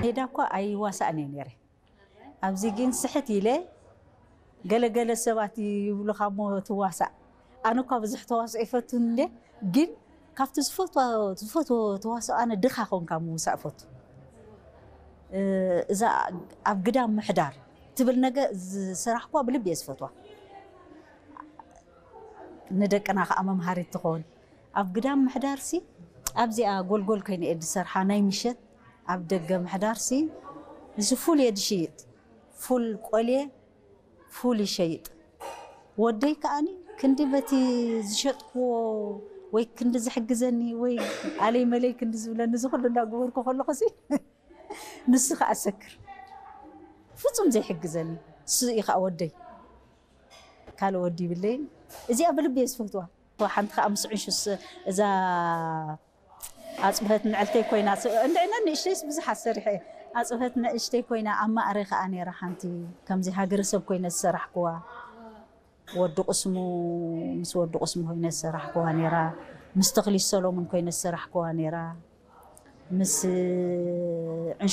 ሜዳ እኳ ኣይዋሳእን እየ ነይረ። ኣብዚ ግን ስሕት ኢለ፣ ገለገለ ሰባት ይብሉኻ እሞ ትዋሳእ። ኣነ እኳ ብዙሕ ተዋስኦ ይፈቱን እንደ፣ ግን ካብቲ ዝፈትዎ ተዋስኦ ኣነ ድኻ ኮንካ ምውሳእ እፈቱ። እዛ ኣብ ግዳም ምሕዳር ትብል ነገር ዝሰራሕኳ ብልቢ እየ ዝፈትዋ። ንደቅና ከዓ መምሃሪት ትኸውን። ኣብ ግዳም ምሕዳር ሲ ኣብዚኣ ጎልጎል ኮይነ እየ ዝሰርሓ። ናይ ምሸት ኣብ ደገ ምሕዳር ሲ እዚ ፉል እየ ዝሽይጥ። ፉል ቆልየ ፉል ይሸይጥ። ወደይ ከዓኒ ክንዲ በቲ ዝሸጥክዎ ወይ ክንዲ ዝሕግዘኒ ወይ ኣለይ መለይ ክንዲ ዝብለኒ እዚ ኩሉ እንዳገበርኩ ከለኹ ሲ ንሱ ከዓ ሰክር ፍጹም ዘይሕግዘኒ እሱ እዩ ከዓ ወደይ። ካልእ ወዲ ይብለይን። እዚኣ ብልቢ እየ ዝፈትዋ። ሓንቲ ከዓ ምስ ዕንሹስ እዛ ኣፅብሀት ንዕልተይ ኮይና እንድዕነ ንእሽተይስ ብዙሓት ሰሪሐ ኣፅብሀት ንእሽተይ ኮይና ኣብ ማእረ ከዓ ነይራ ሓንቲ ከምዚ ሃገረሰብ ኮይነ ዝሰራሕክዋ ወዲ ቁስሙ ምስ ወዲ ቁስሙ ኮይነ ዝሰራሕክዋ ነይራ ምስ ተኽሊ ሰሎሙን ኮይነ ዝሰራሕክዋ ነይራ ምስ ዕንሹ